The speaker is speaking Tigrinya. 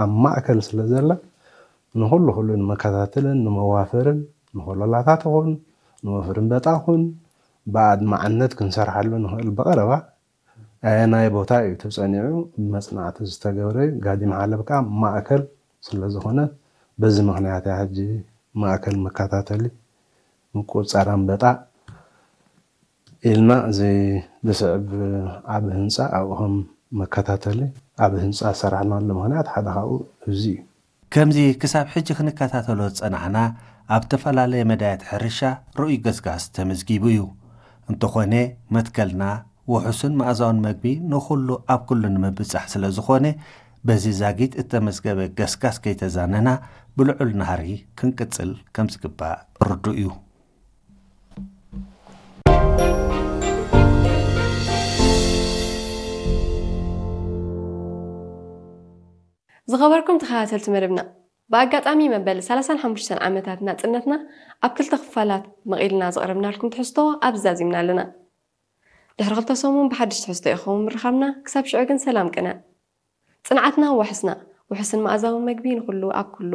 ኣብ ማእከል ስለ ዘላ ንኹሉ ኩሉ ንመከታተልን ንመዋፈርን ንኮለላታት ኹን ንወፍሪ ኣንበጣ ኹን ብኣድማዕነት ክንሰርሓሉ ንኽእል ብቐረባ ኣየናይ ቦታ እዩ ተጸኒዑ መጽናዕቲ ዝተገብረ እዩ። ጋዲም ሓለብ ከኣ ማእከል ስለ ዝኾነ በዚ ምኽንያት እያ ሕጂ ማእከል መከታተሊ ምቁጽጻር ኣንበጣ ኢልና እዚ ዝስዕብ ዓቢ ህንጻ ኣብኡ ከም መከታተሊ ዓቢ ህንጻ ዝሰራሕናሉ ምኽንያት ሓደ ካብኡ እዚ እዩ። ከምዚ ክሳብ ሕጂ ክንከታተሎ ዝጸናሕና ኣብ ዝተፈላለየ መዳያት ሕርሻ ርኡይ ገስጋስ ተመዝጊቡ እዩ። እንተኾነ መትከልና ውሑስን መኣዛውን መግቢ ንኹሉ ኣብ ኩሉ ንምብጻሕ ስለ ዝኾነ በዚ ዛጊት እተመዝገበ ገስጋስ ከይተዛነና ብልዑል ናህሪ ክንቅጽል ከም ዝግባእ ርዱእ እዩ። ዝኸበርኩም ተኸታተልቲ መደብና፣ ብኣጋጣሚ መበል ሰላሳን ሓሙሽተን ዓመታት ናጽነትና ኣብ ክልተ ክፋላት መቒልና ዘቕረብናልኩም ትሕዝቶ ኣብዚ ዛዚምና ኣለና። ድሕሪ ክልተ ሰሙን ብሓድሽ ትሕዝቶ ይኸውን ምርኻብና። ክሳብ ሽዑ ግን ሰላም ቅነ። ጽንዓትና ዋሕስና፣ ውሑስን መኣዛውን መግቢ ንኹሉ ኣብ ኩሉ።